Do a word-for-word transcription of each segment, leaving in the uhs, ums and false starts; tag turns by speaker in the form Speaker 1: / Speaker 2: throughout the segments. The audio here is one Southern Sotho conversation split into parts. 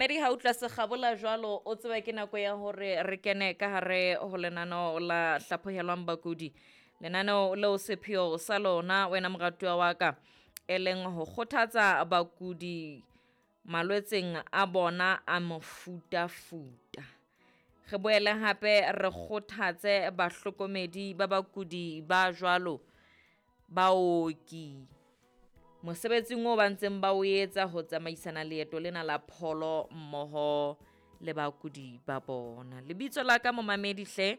Speaker 1: Momamedi ha utlwa sekgabola jwalo, o tsebe ke nako ya hore re kene ka hare ho lenaneo la hlaphohelwang bakudi. Lenaneo leo sepheo sa lona wena moratuwa wa ka, e leng ho kgothatsa bakudi malwetseng a bona a mofutafuta. Re boele hape re kgothatse bahlokomedi ba bakudi ba jwalo, baoki mosebetsing oo ba ntseng ba o etsa ho tsamaisana leeto lena la pholo mmoho le bakudi ba bona. Lebitso la ka momamedi hle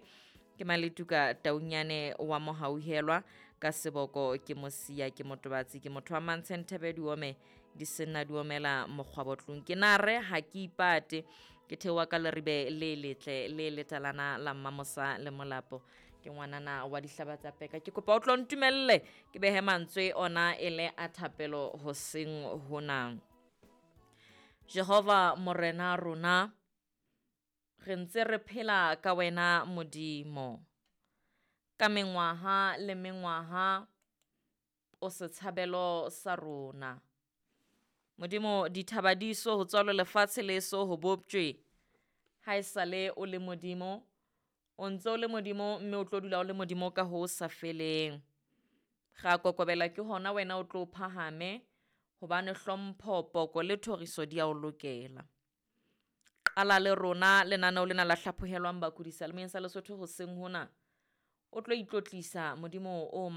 Speaker 1: ke Maletuka Taunyane wa Mohauhelwa, ka seboko ke Mosia, ke motobatsi, ke motho wa Mantshe Thebe diome di senna di omela mokgwabotlong. Ke na re ha ke ipate, ke theoha ka leribe le letle le letalana la Mmamosa le Molapo. Ke ngwanana wa dihlaba tsa peka. Ke kopa o tlo ntumelle ke behe mantswe ona e le a thapelo hoseng hona. Jehova Morena rona, re ntse re phela ka wena Modimo. Ka mengwaha le mengwaha o setshabelo sa rona. Modimo, dithaba di so ho tswalwe, lefatshe le so ho boptjwe. Ha esale o le Modimo, o ntse o le Modimo mme o tlo dula o le Modimo ka ho sa feleng. Ra kokobela ke hona wena o tlo phahame, hobane hlompho, poko le thoriso di a o lokela. Qala le rona lenaneo lena la hlaphohelwang bakudi seyalemoyeng sa Lesotho hoseng hona. O tlo itlotlisa Modimo o